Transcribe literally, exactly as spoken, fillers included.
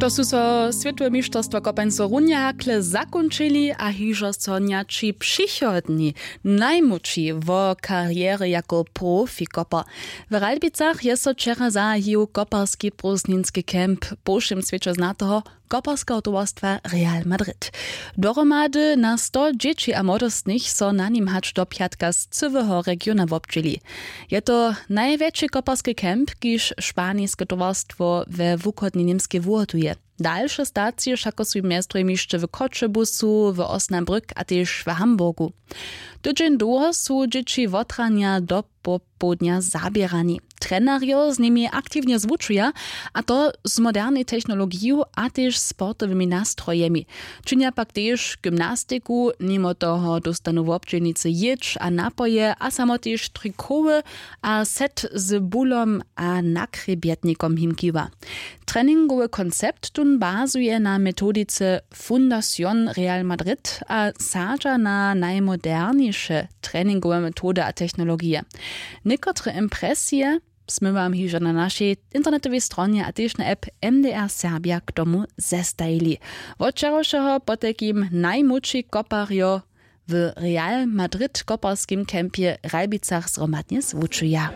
To su so swětowe mišterstwa kopańcow runje hakle zakónčili a hižo so njaći přichodni najmłódši wo karjery jako profikoper. W Ralbicach je so wčera zahajił koparski prózdninski camp po wšěm swěće znateho koparskeho towarstwa Real Madrid. Dohromady na sto dźěći a młodostnych so na nim hač do pjatka z cyłeho regiona wobdźěli. Je to najwjetši koparski camp, kiž španiske towarstwo we wuchodnej Němskej wuhotuje. Dalše stacije wšako su mjez druhim hišće w Choćebuzu, w Osnabrück a tež w Hamburgu. Tydźeń dołho su dźěći wotranja do popołdnja zaběrani. Trenerjo z nimi aktiwnje zwučuja, a to z modernej technologiju a tež sportowymi nastrojemi. Činja pak tež gymnastiku, nimo toho dóstanu wobdźělnicy jědź a napoje a samo tež trikoły a set z bulom a nakrjebjetnikom jim kiwa. Treningowy koncept tón bazuje na metodice Fundación Real Madrid a sadźa na najmoderniše treningowe metody a technologije. Někotre impresije smy wam hižo na našej internetowej stronje a tež na app M D R Serbja k tomu zestajili. Wot wčerawšeho potajkim najmłódši koparjo w Real Madrid koparskim campje w Ralbicach zhromadnje zwučuja.